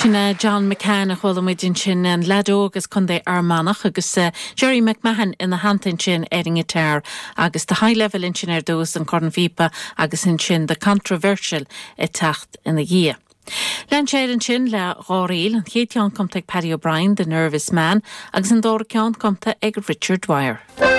Sin é John McCann a chuala muid ansin, an leaid óg as Contae Fhear Manach agus Gerry McMahon ina theannta ansin ar an ngiotár agus The High Level ansin ar dtús, an cornphíopa agus ansin The Controversial ag teacht ina dhiaidh. Lean sé air ansin le dhá ríl, an chéad cheann cumtha ag Paddy O'Brien, The Nervous Man, agus an dara ceann cumtha ag Richard Dwyer.